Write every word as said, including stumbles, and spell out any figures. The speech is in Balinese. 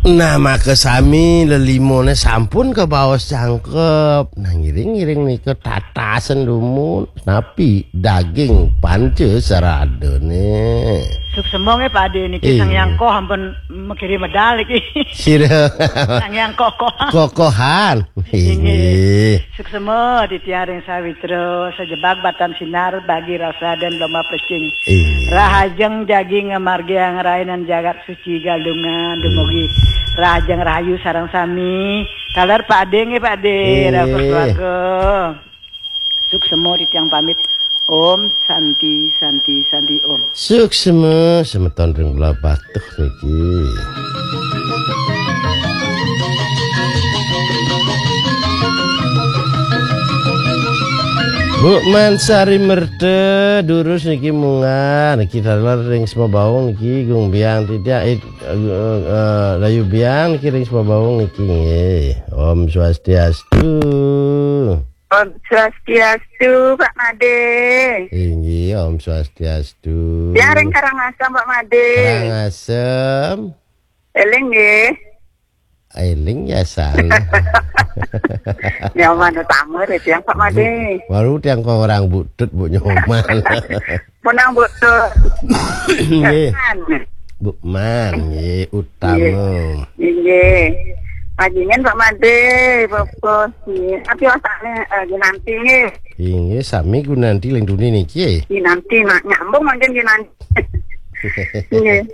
Nah, maka sami lelimone sampun kabaos jangkep. Nah, ngiring-ngiring nika tatasen dumun, napi daging panca saradane. Suksema nggih, Pak Ade, niki Eh. Sang Hyang Koh ampun makiri medal niki. Sira. Sang Hyang Kokoh. Kokohan. Inggih. Inggih. Suksema titiang ring sawitra, sajebag batan sinar bagi rasa dan lomba plecing. Inggih. Rahajeng jagi ngamargiang rainan jagat suci Galungan dumugi. Hmm. Rahajeng rahayu sareng sami. Taler Pak Ade nggih, Pak Ade. Inggih. Raos keluarga. Suksema titiang pamit. Om Santi, Santi, Santi, Om. Suksema semeton ring belah batuh niki. Bu Mansari Merta durus niki munggah niki taler ring Semabaung niki gung biang tidak eh, eh, eh, layu biang niki ring Semabaung niki nggih. Om Swastiastu. Om Swastiastu, Pak Made. Inggih, Om Swastiastu. Tiang ring Karangasem, Pak Made. Karangasem. Eling nggih. Eling ya san. Nyoman utama ya tiang, Pak Made. Bu, baru tiang kok orang butut, Bu Nyoman. Menang butut. Nggih. Kan. Bu Man, nggih, utama. Nggih. Nggih. Panjenengan Pak Made, Bapak nggih. Tapi osane eh, nanti nggih. Inggih, sami gunanti ling duni niki. Nggih, nanti nak nyambung mangkin nggih nanti. Nggih.